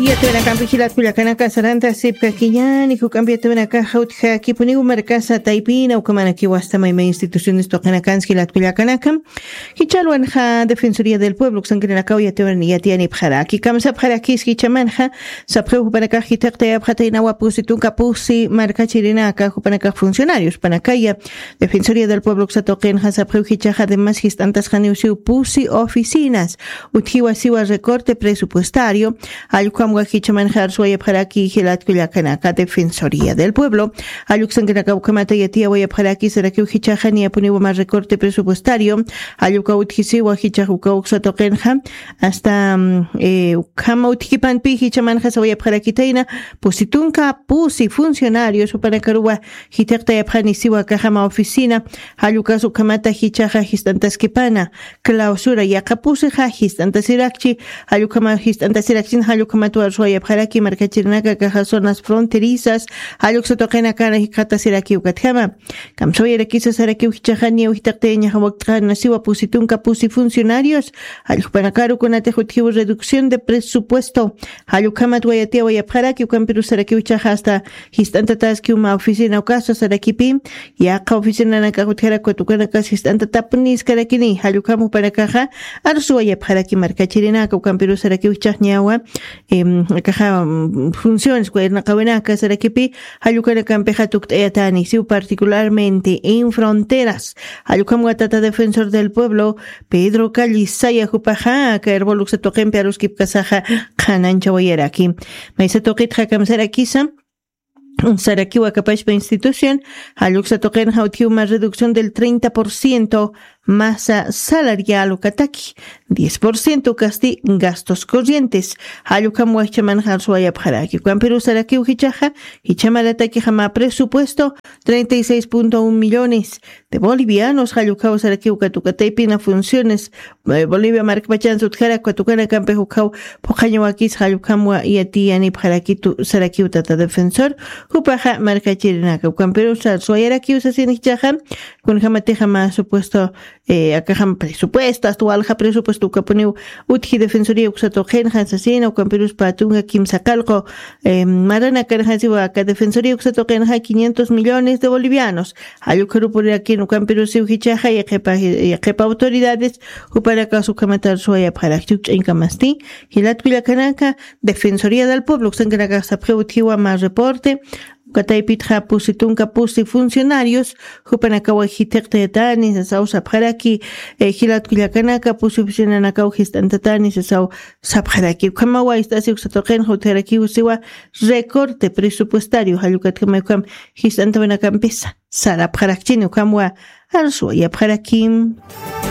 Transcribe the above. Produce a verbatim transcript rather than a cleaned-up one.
Yatawinakampi jilat kullakanaka saranta sipkakiñani, juk'ampi yatawinakaxa utjakipuniw markasa taypina, ukamanakiw asta mayma instituciones tuqinakanski jilat kullakanaka. Jichhalwanxa Defensoría del Pueblo uksankirinakaw yatiyan yatiyanipxaraki, kamsapxarakis jichhamanxa, sapxiw jupanakax jithiqtayapxataynawa pusi tunka pusi markachirinaka, jupanakax funcionarios panakaya Defensoría del Pueblo uksa tuqinxa sapxiw jichhaxa además jist'antasxaniw siw pusi oficinas, utjiwa siwa recorte presupuestario, jallukhamwa jichhamanxa arsuwayapxaraki jilat kullakanaka Defensoría del Pueblo, jalluksankinaka ukhamata yatiyawayapxaraki sarakiw jichhaxa niyapuniwa mä recorte presupuestario, jalluka utjisiwa jichhax uka uksa tuqinxa, hasta mm, eh, ukhama utjipanpi jichhamanxa sawayapxarakitayna, pusi tunka pusi funcionarios jupanakaruwa jithiqtayapxani siwa kaxama oficina, jallukas ukhamata jichhaxa jist'antaskipana, clausura yaqapusixa jist'antasirakchi, jallukama jist'antasirakchin, jallukhamat warsuwayapxaraki markachirinaka kaxa zonas fronterizas, jalluksa tuqinakana jikxatasiraki ukatjama. Kamsawayarakisa sarakiw jichhaxa niyaw jithiqtayañaxa wakt'xana siwa pusi tunka pusi funcionarios, jallukpanakaru kunatix utjiw reducción de presupuesto, jallukhamat wayatiyawayapxaraki, ukampirus sarakiw jichhaxa asta jist'antataskiw mä oficina ukasa sarakipi, yaqa oficinanakax utjarak ukat ukanakas jist'antatapuniskarakini, jallukham jupanakaxa arsuwayapxaraki markachirinaka, ukampirus sarakiw jichhax niyawa, em, akaxa mm, funciones kuwa irnaqawinaka sarakipi, jallukanakampixa tukt'ayatani siw particularmente en fronteras, jallukhamwa tata Defensor del Pueblo Pedro Callisaya jupaxa aka Erbol uksa tuqimpi aruskipkasaxa qhananchawayaraki. Maysa tuqitxa kamsarakisa sarakiw akapachpa institución, jalluksa tuqinxa utjiw mä reducción del treinta por ciento masa salarial ukataki, diez por ciento kasti gastos corrientes, jallukhamwa jichhamanxa arsuwayapxaraki, ukampirus sarakiw jichhaxa, jichhamaratakixa mä presupuesto treinta y seis punto un millones de bolivianos, jallukhaw sarakiw ukat uka taypina funciones, eh, Bolivia markpachansa utjarak ukat ukanakampix ukhaw phuqhañawakis, jallukhamwa yatiyanipxarakitu sarakiw tata Defensor, jupaxa markachirinaka, ukampirus arsuwayarakiw sasin jichhaxa, kunjamatixa mä supuesto, eh, akaxam presupuesto, asta walja presupuesto ukapuniw utji Defensoría uksa tuqinxa sasina, ukampirus pä tunka kimsa qallqu, eh, maranakanxa siwa aka Defensoría uksa tuqinxa quinientos millones de bolivianos, jallukharupurirakini, ukampirus siw jichhaxa yaqhipa, yaqhipa autoridades, jupanakas ukhamat arsuwayapxarakchi, ch'añkamasti, jilat kullakanaka, Defensoría del Pueblo uksankinakax sapxiw utjiwa mä reporte, uka taypitxa pusi tunka pusi funcionarios, jupanakawa jithiqtayatani sasaw sapxaraki, eh, jilat kullakanaka, pusi oficinanakaw jist'antatani sasaw sapxaraki. Ukhamawa ist'asi uksa tuqinxa utjarakiw siwa recorte presupuestario, jallukatjama ukham jist'antawinakampisa sarapxarakchini, ukhamwa arsuwayapxarakim.